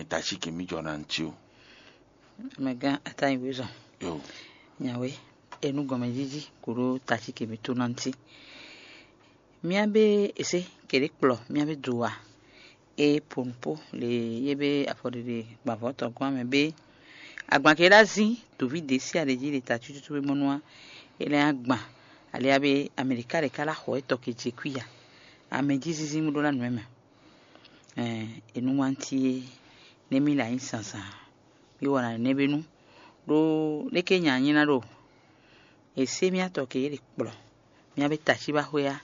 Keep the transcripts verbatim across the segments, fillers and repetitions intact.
tací kɛ mì jɔ ná ntí ó. Mɛgán atáyingwézɔn Yo. Nyawe, enu gɔmɛjiji koɖo tací kɛ mì tó ná ntí. Mía bé esé keɖé kplɔ mía bé do wa. E ponpo le ye be afɔɖeɖe gbavɔ tɔgɔn amɛ be agban ke ɖa zin dovi de si aɖe ji le ta tututu be mɔnua ele agban alia be amerika ɖeka la xɔ etɔ ke je kui ya. Ame ji zinzin mu ɖo la nɔɛ mɛ. Ɛn enu wanti ye ne mi la nyi sansan mi wɔ na ne be nu ɖo leke nya nyi na ɖo ese mi atɔ ke ye le kplɔ mi abe taci ba xwe ya.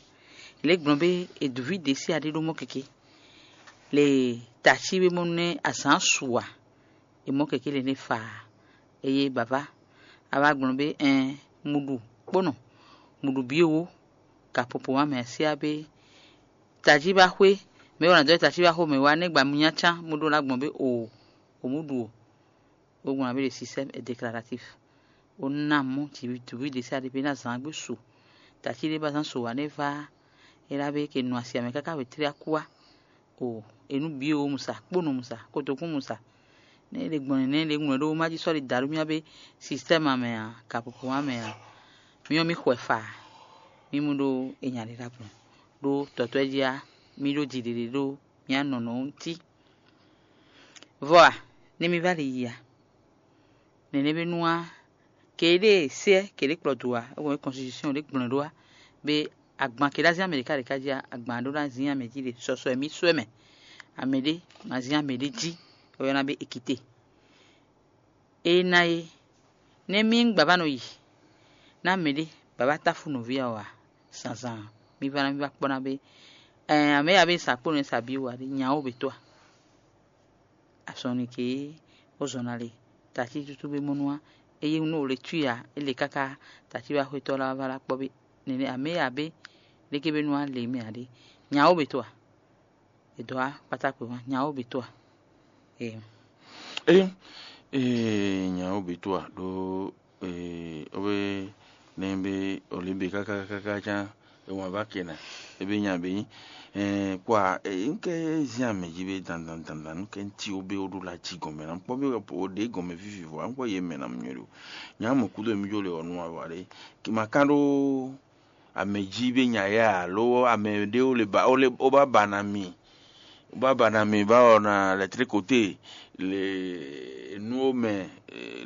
Le gblɔn be eduvi de si aɖe ɖo mɔ keke le taci be mɔ nɛ azan su wa. E mɔ keke le ne fa eye bava a wá gblɔn be ɛn muɖu kponɔ muɖu bi ewo ka popo wa mɛ asia be taji ba xwe mɛ wɔ na dɔ taji ba xo mɛ wa ne gba mu nya can mu ɖo la gbɔn be o o mu ɖu o. O gbɔn be le système est déclaratif. O na mɔ jivi duvi de sa de be na zan gbe su taji de ba zan so wa ne va e la be ke nu asi amɛ kaka be tri akua o enu bi o musa kponu musa kotokun musa ne ɖe gbɔn nɛnɛ ɖe ŋlɔ ɖo ma jí sɔli daɖu mía be système amɛ a kapopo amɛ a miɔ mi xɔɛ fa mi mu ɖo enya ɖe ɖa gbɔn ɖo tɔtɔɛ jí a mi ɖo ji ɖeɖe ɖo mía nɔnɔ ŋuti. Vɔ a ne mi va li yi a nɛnɛ be nu a ke ɖe sɛ ke ɖe kplɔ do a e wɔn constitution ɖe gblɔn ɖo a be agban ke ɖe azin amɛɖeka ɖeka jí a agban ɖo ɖe azin amɛ jí ɖe sɔsɔ mi sɔɛ mɛ amɛ ɖe ma zin amɛ ɖe jí e wɔyɔna be ekite. E na e ne mi ŋgba va nɔ yi na mɛ ɖe baba tafu nɔvi a wa zanzan mi va na mi va kpɔ na be ɛn amɛ ya be sa kpo ne sa bi wa ɖe nya wo be to a asɔnike wo zɔn na le tati tutu be mɔnu a eye nu o le tu ya e le kaka tati wa xwetɔ la va la kpɔ be nene amɛ ya be leke be nu a le mɛ a ɖe nya wo be to a e dɔ a kpata kpe wa nya wo be to a ee Eye ee nya wo be to a ɖo ee obe ne be olimbe kaka kaka can e wan va kena ebe nya be nyi ee kwa ee nke zin ame ji be dandan dandan nu ke nti o be o ɖo la ji gɔmɛ na kpɔ be o ɖe gɔmɛ vivi vɔ an kpɔ ye mɛ na mu nyɔ ɖo nya mo kudo mi jo le ɔnu awa ɖe ki ma kan ɖo ame ji be nya ya alo ame ɖe o le ba o le o ba ba na mi o ba ba na mi ba ɔ na lɛtri kote le nu o mɛ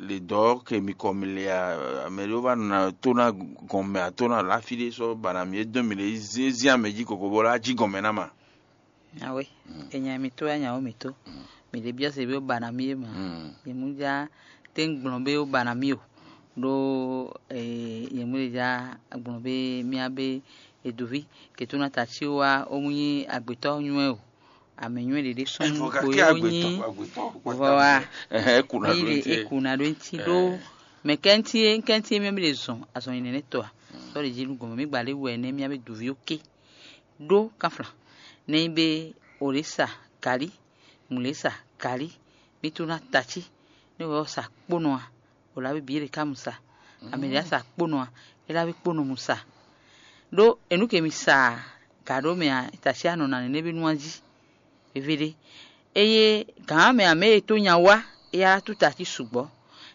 le dɔ ke mi kɔ mi le a ame ɖe o ba na to na gɔn mɛ a to na lafi ɖe sɔ ba na mi e dɔn mi le zin zin ame ji koko bɔ la ji gɔn mɛ na ma. Awe, enya mi to anya wo mi to. Mi ɖe biɔ se be o ba na mi e ma. Ye mu ja te gblɔn be o ba na mi o. Ɖo ye mu ɖe ja gblɔn be mía be eduvi keto na ta ci wa o mu nyi agbetɔ nyuɛ o. Ame nyuɛ ɖeɖe sɔn kpo ye o nyi vɔ wa. Ni ɖe eku na ɖo ŋti ɖo mɛ kɛnti e kɛnti e mía mi ɖe zɔn azɔn yi nɛnɛ tɔ a. Sɔ ɖe ji nu gɔmɛ mi gba le wɛ nɛ mía be duvi o ke. Ɖó kanflan nɛ nyi be o ɖě sa galí, mǔ ɖě sa galí, mi to ná tací, nú wɛ ɔ́ sa kpónɔ a, o lá bí bǐ ɖě ká mu sa, amɛ ɖě sa kpónɔ a, é lá bí kpónɔ mu sa. Ɖó è nǔ ke mi sa gǎ ɖó mɛ a, tací a nɔ ná nɛnɛ́ bí nú a jí. Veví ɖé. Eye gǎn mɛ amɛ e tó nya wá, é yá tú tací sukpɔ́.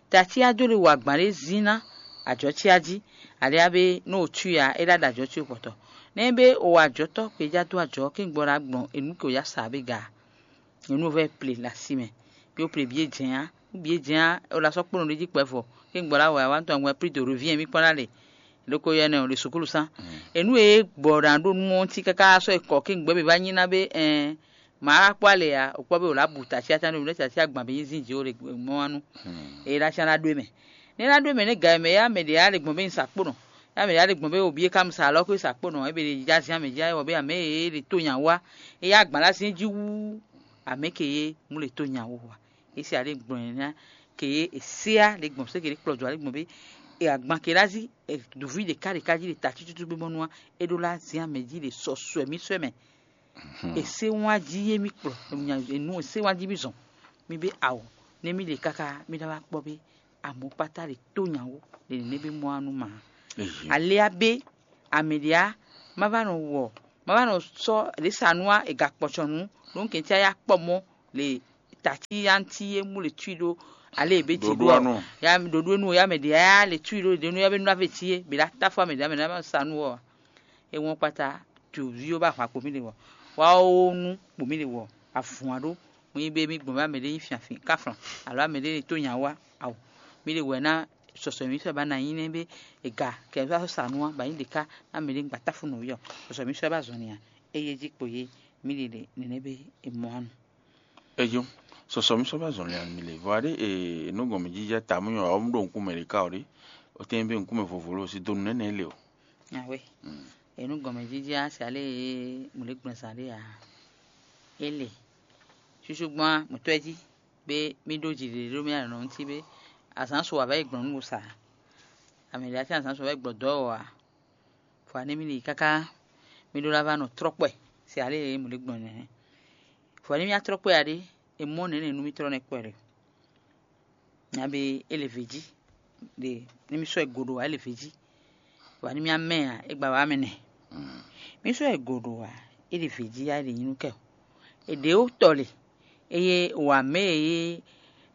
Tací á dó lé wa gbǎn ɖé zín ná ajɔ̌ cé á jí, ali á bé nú o cí a, é ɖá ɖo ajɔ̌ cé kpɔtɔ. Nɛ́ bé o wa ajɔ̌tɔ́ kpejá dó ajɔ̌ kíngbɔ ɖo agbɔ̌n e nǔ ke o yá sa bé ga. Nyɛ nú o vɛ́ ple le asi mɛ, yó ple bǐ e jɛ̌n á. Nú bǐ e jɛ̌n á, o la sɔ́ kpónɔ ɖé jí kpɛvɔ, kíngbɔ ɖo awɛ a wá nú tɔn wɛ plí dǒ ɖo vǐ nyɛ mí kpɔ́n ɖa le. Loko yɛ nɛ o ɖe sukúlu sán. Enu e gbɔ ɖa ɖo nú ɔ́ cí káká sɔ́ yi kɔ kíngbɔ é mɛ vá nyí ná bé ɛn mǎ wá kpɔ́ alɛ ǎ, o kpɔ́ bé o lǎ bu tacyatán ɖo nǔɖé tacyá agban bǐ nyí zín jǐ o ɖe mɔ wá nú. Eye ɖo acá ná ɖó e mɛ. Nɛ́ ná ɖó e mɛ nɛ́ ga e mɛ yá mɛ ɖě á ɖe gbɔn bé un sa kpó nɔ. Yá mɛ ɖě á ɖe gbɔn bé o bǐ é ká mu sa alɔ xwé sa kpó nɔ, é be ɖe jijá zín amɛ jí wɔ bé amɛ e ɖe tó nya wá. É yá agban lá zín jí wú amɛ ke yé mú ɖe tó nya wó wá. É se aɖé gbɔn nya ke yé è séá ɖe gbɔn sé ke ɖé kplɔ jɔ aɖé gbɔn bé. E agban ke lá zí e ɖuví ɖeka ɖeka jí ɖe ta cúcúcú gbé mɔnú wá. É ɖó lá zín amɛ jí ɖe sɔsɔɛ mí sɔɛ mɛ. È sé wán jí yé mí kplɔ enu è sé wán jí mí zɔn. Mí bé awo nɛ mí ɖe káká mí ná wá kpɔ́ bé amɔ̌kpátá ɖe tó nyawó ɖe nɛnɛ bé mɔ wá nú ma. Aléá bé amɛ ɖě á má vá nɔ wɔ má vá nɔ sɔ́ ɖě sa nú á è ga kpɔcɔ nǔ ɖó kɛntí á yá kpɔ mɔ le tati anti e mu le tui ɖo ale e be ti ɖo anu. Ya ɖoɖo nu ya mɛ ɖe ya le tui ɖo ɖe nu ya be nu ave ti e be la ta fɔ mɛ ɖe mɛ ɖe sa nu ɔ. E wɔn kpata tu vi o ba hwa kpo mi le wɔ. Wa o nu kpo mi le wɔ. Avun a ɖo. Mo yi be mi gbɔn ba mɛ ɖe yi fiafin kaflan alo mɛ ɖe to nya wa awo. Mi le wɛ na sɔsɔ mi sɔ ba na yi ne be ega kɛ va sa nu ba yi ɖeka na mɛ ɖe gba ta funu yɔ. Sɔsɔ mi sɔ ba zɔn nia. Eye ji kpo ye mi le le nene be e mɔ anu. Eyo, sɔsɔ mi sɔ ba zɔn lia mi le. Vɔ aɖe e nu gɔn mi jija ta mu nyɔ ɔm ɖo nukun mɛ ɖeka o ɖe. O tɛn be nukun mɛ vovo lo si donu nɛnɛ le o. Awe. Mm. Enu gɔn mi jija si ale e mu le gblɛn sa ɖe a. Ele. Susu gbɔn a mutɔ ji be mi ɖo ji ɖe ɖo mi anɔ ŋuti be azan so ava yi gblɔn nu sa. Ame ɖe ati azan so ava yi gblɔ dɔ o a. Vɔ ne mi li káká mi ɖó ná va nɔ trɔ́kpɛ se ale e mɔ ɖě gbɔn nɛ́. Vɔ ne mi wá trɔ́kpɛ ǎ ɖé, è mɔ nɛ̌ nɛ́ nú mì tlɔ́ nɛ́ kpɛ ɖe. Nya be é le vě jí ɖe, ne mi sɔ́ ɛ go ɖo ǎ, é le vě jí. Vɔ ne mi wá mɛ ǎ, é gba wá mɛ nɛ. Mi sɔ́ ɛ go ɖo ǎ, é le vě jí ǎ, é le nyí nú kɛ o. È ɖě ó tɔ le, eye wǎ mɛ e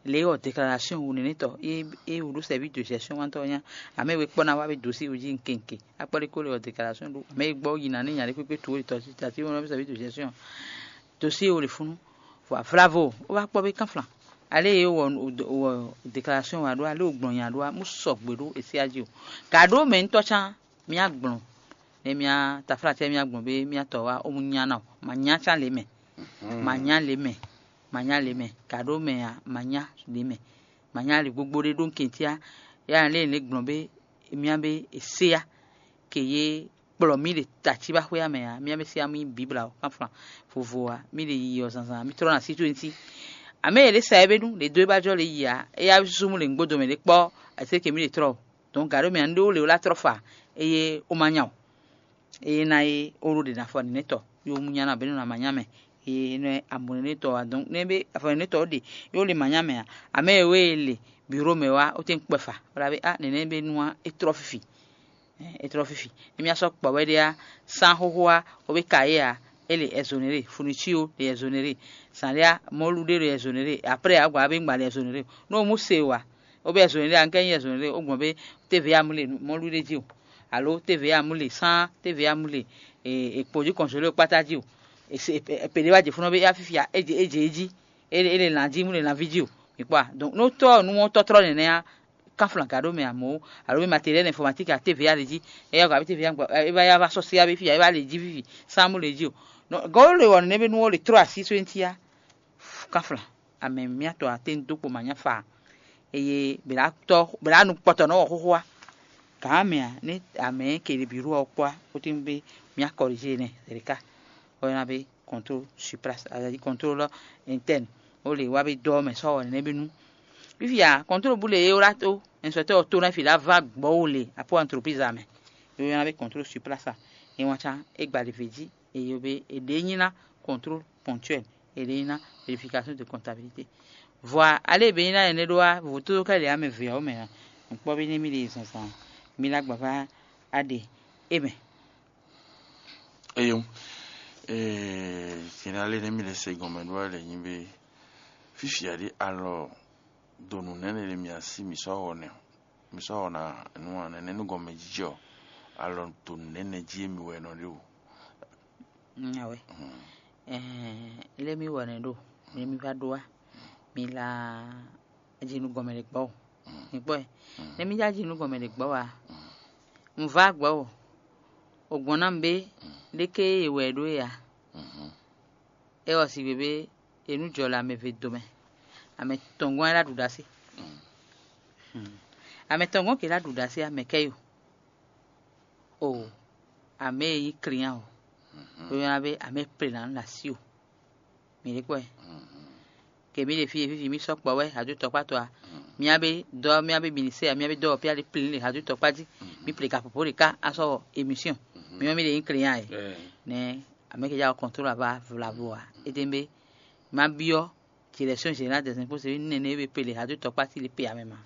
lě ɔ́ déclaration wu nɛnɛtɔ e e wǔ ɖó service de gestion wantɔ nya ame we kpɔ na wa be dossier wo jí nkenke akpɔ ɖe ko le ɔ déclaration ɖo ame e gbɔ yi na ne nya ɖe kpekpe tu wo tɔ tati wo service de gestion dossier wo le funu vɔ vlavo wo va kpɔ be kanflan ale ye wɔ wɔ déclaration wa ɖo ale wo gblɔ nya ɖo mu sɔgbe ɖo esi aji o ka ɖo mɛ ŋutɔ can mía gblɔn ne mía taflatɛ mía gblɔn be mía tɔ wa o mu nya na o ma nya can le mɛ ma nya le mɛ ma nya le mɛ ka ɖo mɛ a ma nya le mɛ ma nya le gbogbo ɖe ɖo nkɛntia ya lé ne gblɔn be mía be e se ya ke ye kplɔ mí ɖe taci ba xwé amɛ a mía be se ya mí bibla o kanflan vovo a mí ɖe yiyi ɔ zanzan mí trɔ na situenti ame yɛ ɖe sa yɛ be nu ɖe do e ba jɔ le yi a eya susu mu le nugbo domɛ ɖe kpɔ ase ke mí ɖe trɔ o donc gǎ ɖo mɛ a un ɖe wo le wo la trɔ fa eye o ma nya o eye na e o ɖo ɖe na afɔ nɛnɛtɔ yo mu nya na bɛnu na ma nya mɛ eye nɛ amɔ nɛnɛtɔ wa donc nɛ be afɔ nɛnɛtɔ ɖe yo le ma nya mɛ a ame e we le biro mɛ wa o te kpɛ fa wala be a nɛnɛ be nua e trɔ fifi e trɔ fifi ne mía sɔ kpɔ wɛ ɖe a san xoxo a o be ka ye a e le exonéré fourniture o le exonéré san ɖe a mɔlu ɖe le exonéré après a gba be ngba le exonéré no mu se wa o be exonéré a nkɛ nyi exonéré o gbɔn be T V A mu le mɔlu ɖe ji o alo T V A mu le san T V A mu le e e kpo ji congelé o kpata ji o e se e pe ɖe wa je funu be ya fifia e je e je e ji e le e le lan ji mu le lan vi ji o mi kpɔ a donc no tɔ nu mɔ tɔtrɔ nɛnɛ a kanflan ga ɖo mɛ amo alo be matériel informatique a T V A le ji e ya gba be T V A gba e ba ya va sɔ se ya be fia e ba le ji vivi san mu le ji o donc gɔlo le wɔ nɛnɛ be nu wo le trɔ asi so enti a kanflan ame mía tɔ a te dó kpo ma nya fa eye bla tɔ bla nu kpɔtɔ nɔ wɔ xoxo a gǎn mɛ a ne ame ke le biro ɔ kpɔ a o te be mía corriger nɛ zerika o yɔna be contrôle sur place, c'est-à-dire contrôle interne o le wa be dɔ mɛ sɔ wɔ nɛnɛ be nu fifia contrôle bu le ye o la to inspecteur o to na fi la va gbɔ o le apo entreprise a mɛ o yɔna be contrôle sur place a e wan can e gba le ve ji e yo be e ɖe nyi na contrôle ponctuel e ɖe nyi na vérification de comptabilité vɔa ale be nyi na ene ɖo a vovo to ka le ame ve o mɛ a nkpɔ be ne mi le zɔnzɔn mi la gbava a ɖe e mɛ Eyo, ee, sinale ne mi le se gɔnmɛ ɖo ale nyi be fifia ɖi alɔ donu nɛnɛ le mi asi mi sɔ wɔ nɛ mi sɔ wɔ na nu a nɛnɛ nu gɔnmɛ jijɔ alɔ donu nɛnɛ ji mi wɛ nɔ ɖe o. Awe. Lé mi wɔ nɛ ɖo lé mi va ɖo wa mi la jinugɔnmɛ ɖe gbɔ o mi kpɔ ɛ ne mi ja jinugɔnmɛ ɖe gbɔ wa un va gbɔ o o gbɔn na mi be ɖeke ye wɛ ɖo ya e wɔ si gbe be enu jɔ le ame ve do mɛ ame tɔngɔn la ɖu ɖase ame tɔngɔn ke la ɖu ɖase ame kɛ yo o ame yi client o o yɔna be ame plenan la si o mi ɖe kpɔ ɛ ke mi ɖe fi e fifi mi sɔ kpɔ wɛ hadu tɔkpatɔ a mía be dɔ mía be ministère mía be dɔ pia ɖe plin le hadu tɔkpa ji mi ple gaƒoƒo ɖeka asɔ émission mi wọn mi ɖe yi client ɛ ne ame ke ja contrôle ava vlavo a ete be ma biɔ direction générale des impôts c'est une nene be pele hadu tɔkpa ti le pe ame ma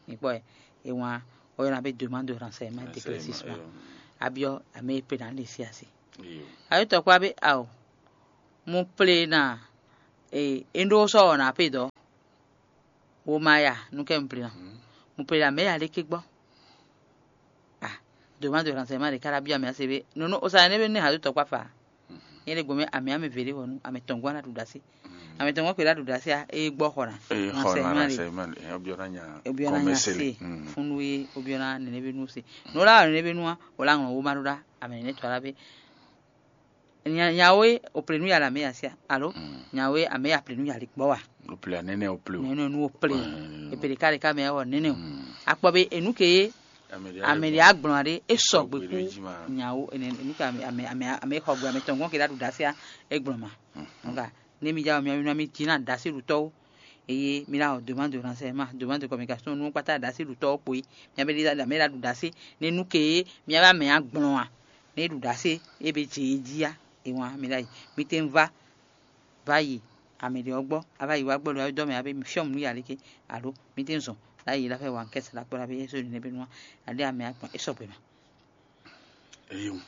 mi kpɔ ɛ e wan o yɔna be demande de renseignement d'éclaircissement abiɔ ame pe na le si asi hadu tɔkpa be ao mo ple na E é ɖó sɔ́ ɔ́ ná pé dɔ̌. Wo ma ya nú kɛ un ple ná. Un ple ná mɛ ya lé ké gbɔ. Ah, dǒ ma dǒ hɛn sɛ ma ɖe kára byɔ́ amɛ ase bé. Nunu o sa ne be ne ha do tɔkpa fa. Nyɛ ɖe gbɔmɛ amɛ amɛ vele wɔnu amɛ tɔn gwa na ɖu dasi. Amɛ tɔn gwa kpe la ɖu dasi a e gbɔ xɔ na. Eye xɔ na Sɛ ma na ɖe. Sɛ ma ɖe. Obiɔ na nya Obiɔ na nya kɔmɛsele. Se. Funu ye obiɔ na nene be nu se. No la nene be nu a o la ŋlɔ wo ma ɖo ɖa amɛ nene tɔ la be. Nyawe o ple nú ya la mɛ ya sia alo nyawe amɛ ya ple nú ya li gbɔ wa. O ple anene o ple o. Nene nu o ple. E ple ka ɖeka mɛ wɔ nene o. Akpɔ be enu ke ye amɛ ɖe agblɔn aɖe e sɔgbe ku nyawo ene enu ke amɛ amɛ amɛ amɛ xɔ gbe amɛ tɔn gɔn ke ɖa ɖu ɖa sia e gblɔn ma. Nga ne mi ja mi mi mi tina ɖa si ɖu tɔwo. Eye mi la wɔ demande de renseignement, demande de communication nu kpata ɖa si ɖu tɔwo kpo yi. Mi abe ɖi da mi la ɖu ɖa si ne nu ke ye mi abe amɛ agblɔn a ne ɖu ɖa si e be dze yi jí a. E wan mi la yi mi te va va yi ame ɖe ɔ́ gbɔ a va yi wá gbɔ ɖo dɔ́ mɛ a be mi fyɔ́ mǔ ya lé ké alo mi te zɔn la yi la fɛ wa kɛ́ sala kpɔ́ la be yɛ́ sódì nɛ́ be nú a ɖe ame akpɔn é sɔgbe mɛ. Eyo.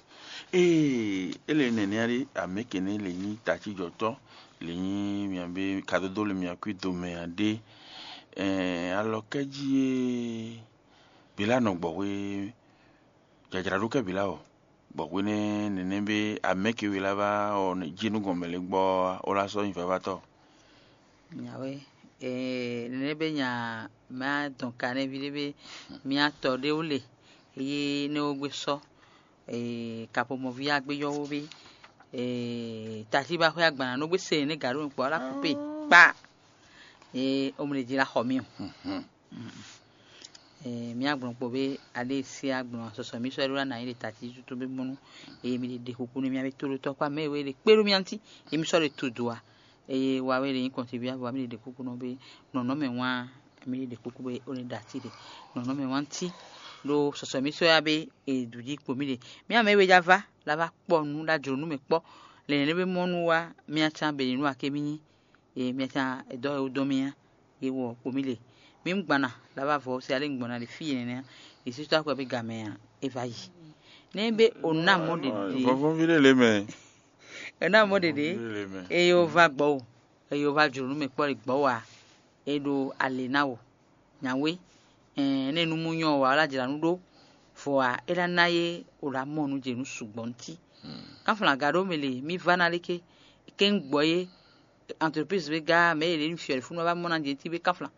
Ee, ele nɛnɛ ali ameke ne le nyi tacijɔtɔ le nyi miabe kadodo le miakui dome aɖe. Ɛɛ, alɔkɛji e bila nɔ gbɔhwe jajraɖo kɛ bila o. Bɔ hwenɛ́ nɛnɛ́ bé amɛ̌ ke we lá vá ɔ́, jínú gɔn mɛ lě gbɔ ɔ́, ó lá sɔ́ nyí vavatɔ́. Nyawe, ee, nɛnɛ́ bé nya mɛ á dɔn kanɛ́ví ɖé bé mía tɔ ɖé wú le, yí nɛ́ ó gbé sɔ́, ee, kapomɔví á gbé yɔ́wó bé, ee, tají ba xwé agban ná nú gbé se nɛ́ gǎ ɖó nukpɔ ɔ́ lá kúpe kpa, ee, ó mlɛ jí lá xɔ mì o. Mía gblɔn kpo bé alé e sé agbɔ̌n sɔsɔ mì sɔ́ ɖó ná nǎ nyi ɖe tatíjútú bé mɔnú. Eye mi ɖe ɖe kuku nú mía bé tóɖótɔ́ kpá mɛ e wɛ ɖe kpé ɖó mía ŋuti, emi sɔ́ ɖe to do a? Eye wa wɛ ɖe nyí kɔntibyá vɔ mi ɖe ɖe kuku nɔ bé nɔnɔmɛ wán mi ɖe ɖe kuku bé ó ní ɖe atí ɖe nɔnɔmɛ wán tí ɖó sɔsɔ mì sɔ́ ya bé e dǔ jí kpo mì ɖe. Mía mɛ e wɛ já vá lá vá kpɔ nǔ ɖó ajlǒ nú mɛ kpɔ́ lɛ̌nlɛ́n bé mɔnú wá mía cán bɛ̌ nú aké mì nyí. Ye mía cán è dɔ́ wɛ wú dɔn mì á, ye wɔ kpo mì le. Mì un gban na, la va vɔ se ale un gbɔn na ɖe fí e nɛnɛ á, ye sú tó akwɛ bé gamɛ a, é va yi. Nɛ́ bé o ná mɔ ɖeɖe, Vɔvɔ́ví ɖé lě mɛ. O ná mɔ ɖeɖe, Vɔvɔ́ví ɖé lě mɛ. Eye o va gbɔ o, eye o va jlǒ nú mɛ kpɔ́ ɖe gbɔ̌ wa, é ɖo alě ná o. Nyawe, ɛn, nɛ nu mu nyɔ wǎ wá jlǎ nú ɖó, vɔ ǎ, é ná ná yé wǒ ɖo amɔ nú jě nú sukpɔ́ ntí. Kánflán aga ɖó mɛ le, mì vá ná léké, kɛ́n gbɔ yé, entreprise bé gá mɛ yě ɖě nú fiɔ́ fúnú wá mɔ ná jě ntí bé kánflán,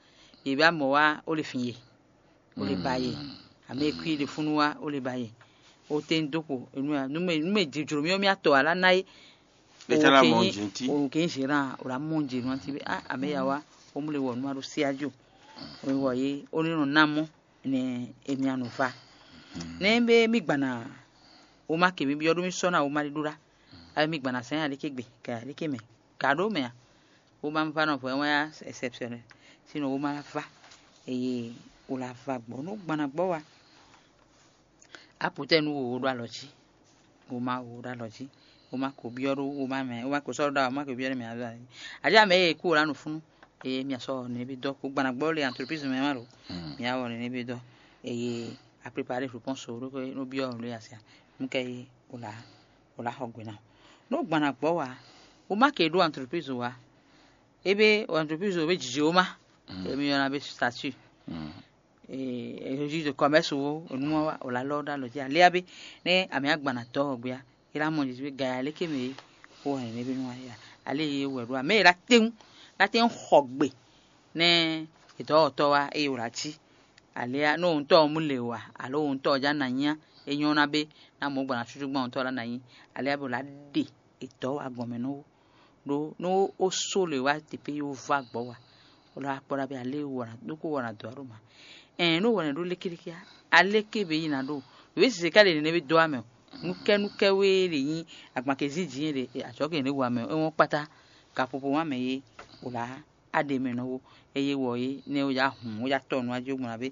yě bá mɔ wá ó lè fin yé, ó lè ba yé, àmì e kú yé ɖe fúnú wá ó lè ba yé. Ó tɛ́n dó kpo, nú mɛ nú mɛ jǐjlǒ mì ɔ́ mì atɔ wǎ lá ná yé. Ɖe tsán lá mɔ jǐ ntí. O kì í ṣe rán o la mɔ jǐ nú ntí bé á àmì ya wá, ó mú le wɔ nú ma ɖó sí ájú. Wɔ yé ó ní nɔ ná mɔ nɛ emi anɔ va. Nɛ be mi gbana wo ma ke mi byɔ́ ɖó mi sɔ́ ná wo ma ɖi ɖó ɖá. Abe mi gbana sɛn aɖeke gbe kɛ aɖeke mɛ ka ɖó mɛ a? Wo ma va nɔ vɔ wɛn ya exceptionnel. Sinɔ wo ma va eye wo la va gbɔ nú gbana gbɔ wa. Aputɛ nú wo ɖo alɔ jí. Wo ma wo ɖo alɔ jí. Wo ma ko byɔ́ ɖó wo ma mɛ wo ma ko sɔ́ ɖó ɖá wo ma ko byɔ́ ɖó mɛ azɔ. Aɖi ame e kú wo la nɔ fúnú. Eye mia sɔ nene bi dɔ kó gbana gbɔ le entreprise mɛ ma ɖo. Mia wɔ nene bi dɔ. Eye a préparé réponse wo ɖo ko no byɔ le asia. Mu kɛ yi o la o la xɔ gbe na. No gbana gbɔ wa. O ma ke ɖo entreprise wa. Ebe entreprise wo be jiji wo ma. Emi yɔna be statut. Registre de commerce wo enu ma wa o la lɔ ɖo alɔ jí alea be ne ame agbana dɔ gbea. Ela mɔ jiji be gaya leke me. Ko hɛn ne be nu wa ya. Ale ye wɛ ɖo ame ela teŋ la teŋ xɔ gbe ne edɔwɔtɔ wa eye wòle aci. Alea ne òun tɔ mu le wa alo òun tɔ ja na nyia e nyɔ na be na mɔ gbana susu gbɔn òun tɔ la na nyi. Alea be wòle aɖe edɔ wa gɔn mɛ nɔ wo ɖo ne wo so le wa teƒe ye wo va gbɔ wa. Wòle akpɔ ɖa be ale wɔ na ɖo ko wɔ na dɔ alo ma. Ɛn ne wɔ na ɖo leke leke a aleke be yi na ɖo. Wě sise ka ɖe nene be dɔ amɛ o. Nukɛ nukɛ wé le nyi agbanke zinzin ɖe atsɔke ne wa mɛ e wɔn kpata. Gaƒoƒo wa mɛ ye wòle aɖe mɛ nɔ wo. Eye wɔ ye ne wo ya hun wo ya tɔ nu ajo gbɔn abe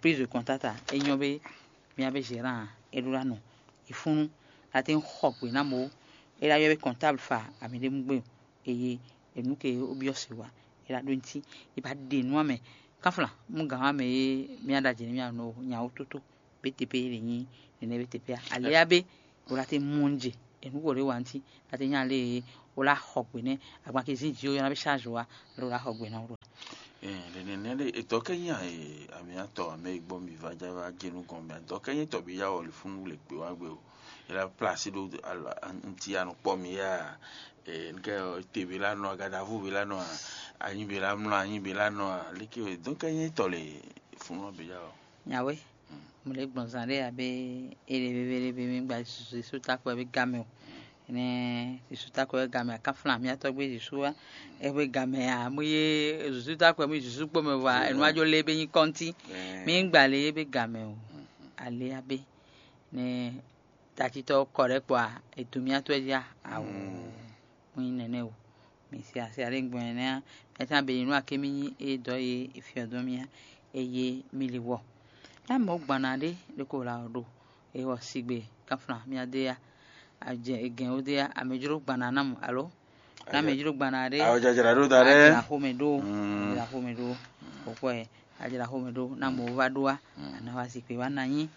prise de contact a e nyɔ be mia be gérant e ɖo la nɔ e funu la te xɔ gbe na mo e la yɔ be comptable fa ami ɖe mu gbe o. Eye enu ke o byɔ se wa e la ɖo ŋti e ba ɖe nu amɛ kafla mu gan amɛ ye mia ɖa jɛ ne mia nɔ nyawo toto be teƒe ye le nyi nene be teƒe a alea be o la te mu ŋje enu ko ɖe wa ŋti la te nya le wó lá xɔ gbe nɛ́, agban ke zín jǐ ó, yɔ́ ná bí ṣáàzì wá, ló lá xɔ gbe ná wó ɖó. Ɛɛ, nɛnɛ ɖe etɔ́ kɛ nyí amyatɔ ame e gbɔ mi va ja va jenu gɔn mɛ, etɔ́ kɛ nyí tɔ bí ya wɔli fún wle gbé wá gbé o. Ela plasi ɖó ŋti anukpɔ mi ya. Ɛɛ, nukɛ te bí la nɔ, agadavu bí la nɔ, anyi bí la mlɔ, anyi bí la nɔ, leke dɔn kɛ nyí tɔ le fún nɔ bí ya o. Nyawe, mo lě gbɔn zán ɖé abě é ɖě veve ɖé bí mí gba zǐsú takɔ wɛ bí ga mɛ o. Énɛ́ zǐsú takɔ wɛ ga mɛ, akánflán mì atɔ́gbé zǐsú wá é gbé ga mɛ ǎ. Mú yé zǐsú takɔ wɛ mú zǐsú kpó mɛ vɔ enu wá jó lé é bé nyí kɔ́ntí. Mí gba lě é bé ga mɛ o. Alě abě nɛ́ tatitɔ kɔ ɖɛ̌ kpɔ a, è dǒ mì atɔ́ jí a? Awo. Mú nyí nɛnɛ́ o. Mǐ se asi alé gbɔn ɛnɛ́ ǎ. Mɛ tɔn abǐ nú aké mì nyí é dɔ̌ e è fyɔ́ dɔn mì á, é yé mì li wɔ. Ná mɔ̌ gbana ɖé ɖé ko la ɔ́ ɖo, é wɔ sigbe kánflán mì adé á, agɛn ó dé á, amɛ jló gbana ná mɔ alo? Ná mɛ jló gbana ɖé. Àwọn jajra ɖó ta ɖé. Ajra xomɛ ɖó. Ajra xomɛ ɖó. Kpɔkpɔ ɛ, ajra xomɛ ɖó. Ná mɔ va ɖó á. Ana wa zikpe wa na nyi.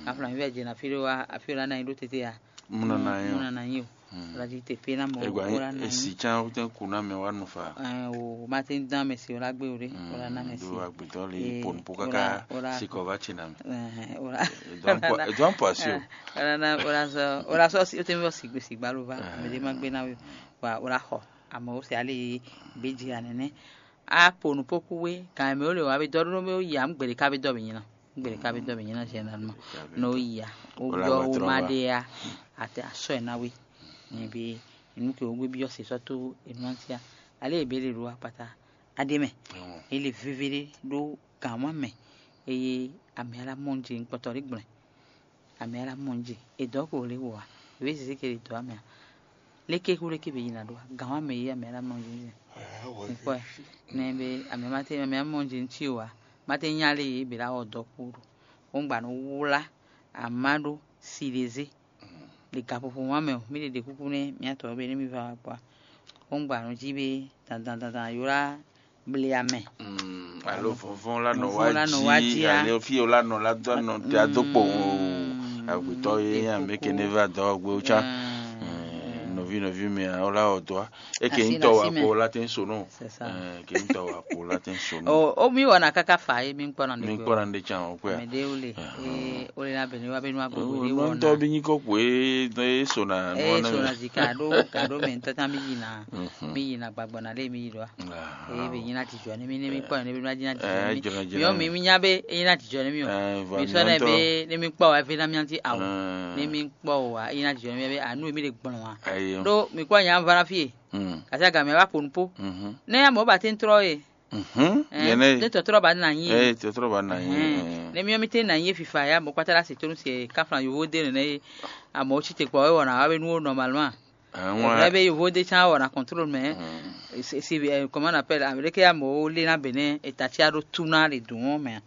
Kánflán mì vɛ jɛ na fí ɖó wa, afí ɖó na nyi ɖó tete á. Múnana yín o. Múnana yín o. Wala di te pe na mɔ. Egba wala na yín. Esi can wotɛn ku na mɛ wa nu fa. Ɛɛ, o ma te dán mɛ si wala gbé o ɖe. Wala na mɛ si. Do agbetɔ le pon po kaka sikɔ va tsi na mɛ. Ɛɛ, wala. Edɔn po asi o. Wala na wala sɔ wala sɔ si o te mi bɔ sigbe sigba ló va. Mɛ de ma gbé na wi. Wa wala xɔ. Ame o se ale yi gbe dzi anene. A po nu po ku we kan mɛ o le wa be dɔ ɖo mɛ o yi am gbede ka be dɔ be nyina. Gbede ka be dɔ be nyina généralement. No ya. O yɔ o ma de ya. Ate asɔ na we. Ni bi nu ke o gbe bi ɔsi sɔ to enu antia. Ale ebe le ro apata. Ade mɛ. Ele vevele ɖo gǎnwa mɛ. Eye amɛ ala mɔnje nkpɔtɔ ɖe gblɛ. Amɛ ala mɔnje. Edɔ ko le wo a. Ebe sese ke le dɔ amɛ a. Leke ku leke be yina ɖo a. Gǎnwa mɛ ye amɛ ala mɔnje. Nkpɔ ɛ. Nɛ be amɛ ma te amɛ ala mɔnje ŋti o a. Ma te nya le ye be la wɔ dɔ kpo ɖo. Wongba no wla ama ɖo si ɖe ze. Le gaƒoƒo ma mɛ o, mí ɖe ɖe kúkú nɛ mía tɔ be nú mí va wá kpɔ́. Wongba no jí be dandan dandan yó lá ble amɛ. Alo vɔvɔn la nɔ wá jí, alo fíyo la nɔ la dó nɔ te adó kpo o. Agbetɔ ye amɛ ke ne va dɔ gbe o tsa. Nɔvi nɔvi mɛ a wala o dɔ a. Eke ŋutɔ wa kpo la te n so nɔ. Ke ŋutɔ wa kpo la te n so nɔ. O mi wɔna kaka fa ye mi kpɔna ne. Mi kpɔna ne tsa o kwe. Mɛ de wole. Ee wole na bɛnɛ wa bɛ nu agbogbo de wɔna. Nɔntɔ bi nyi ko kpo e e so na. Ee so na zi ka ɖo ka ɖo mɛ ŋutɔ ta mi yi na. Mi yi na gbagbɔ na le mi yi ɖɔ. Ee be nyi na ti jɔ ne mi ne mi kpɔ ne bi ma di na ti jɔ ne mi. Mi yɔ mi mi nya be e nyi na ti jɔ ne mi o. Mi sɔ ne be ne mi kpɔ wa e fe na mi anti awo. Ne mi kpɔ wa e nyi na ti jɔ ne mi be anu mi le gbɔn wa. Ɖó mi kpɔ nya va na fie. Kasi aga mɛ wa kponu po. Ne ya mɔ ba te n trɔ ye. Yɛnɛ ne tɔtrɔ ba na nyi ye. Tɔtrɔ ba na nyi ye. Ne mi mi te na nyi ye fifa ya mɔ kpata la se tonu se kafla yovo de nene ye. Amɔ o ci te kpɔ e wɔna wa be nu wo normalement. Lɛ be yovo de can wɔna contrôle mɛ. Si comment on appelle avec ya mɔ o le na bene eta ci a ɖo tu na le dun mɛ.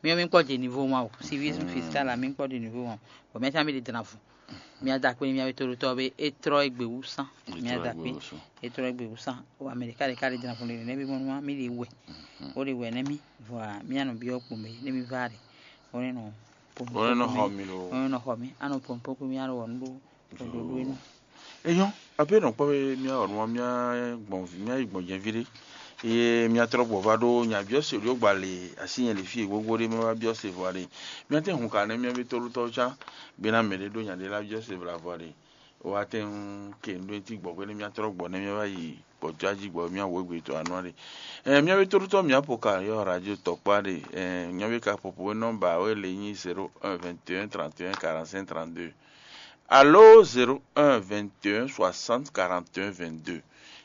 Mi mi kpɔ de niveau ma o. Civisme fiscal la mi kpɔ de niveau ma o. Bon mɛ can mi de dana fu. Mía da akpe nú mía ví tóɖótɔ́ ɔ́ bé é tlɔ́ égbé wú sán. Mía da akpe, é tlɔ́ égbé wú sán. O Amɛlika ɖe ká ɖe jlá fún ɖe nɛ́ bí mɔnú mí ɖe wɛ. Ó ɖe wɛ nɛ́ mí, vɔ mía nɔ byɔ́ kpomɛ nɛ́ mí vá ɖe. Ó nɛ́ nɔ pom. Ó nɛ́ nɔ xɔ mí lo. Ó nɛ́ nɔ xɔ mí, á nɔ pom pó kú mí á nɔ wɔ nú ɖó ɖoɖó é nɔ. Eyɔ́, abe nɔ kpɔ́ be mía wɔ nú mía gbɔn mía yi gbɔn jɛví ɖé. Ye mía trɔ gbɔ va ɖo nya byɔ́ se ɖo gba le asi nyɛ le fí e gbogbo ɖé mɛ va byɔ́ se vɔ ɖe. Mía tɛ́ hun ka nɛ́ mía ví tóɖótɔ́ can. Bena mɛ ɖé ɖó nya ɖé lá byɔ́ se vla vɔ ɖe. Wa tɛ́ ke nú ɖó ti gbɔ hwenu mía trɔ gbɔ nɛ́ mía va yi gbɔjɔ́ jí gbɔ mía wǒ gbe tɔ anɔ ɖe. Ɛ mía ví tóɖótɔ́ mía po ka yɔ radio tɔkpa ɖe. Ɛ mía ví ka popo nɔmba wɛ le nyi zéro un vingt et un trente et un quarante-cinq trente-deux. Alo zéro un vingt et un soixante quarante et un vingt-deux.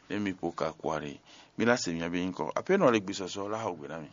Ne mi po ka kwa ɖe. Mi la se mía bí nyikɔ. Ape nɔ le gbisɔsɔ la xɔ gbe na mi.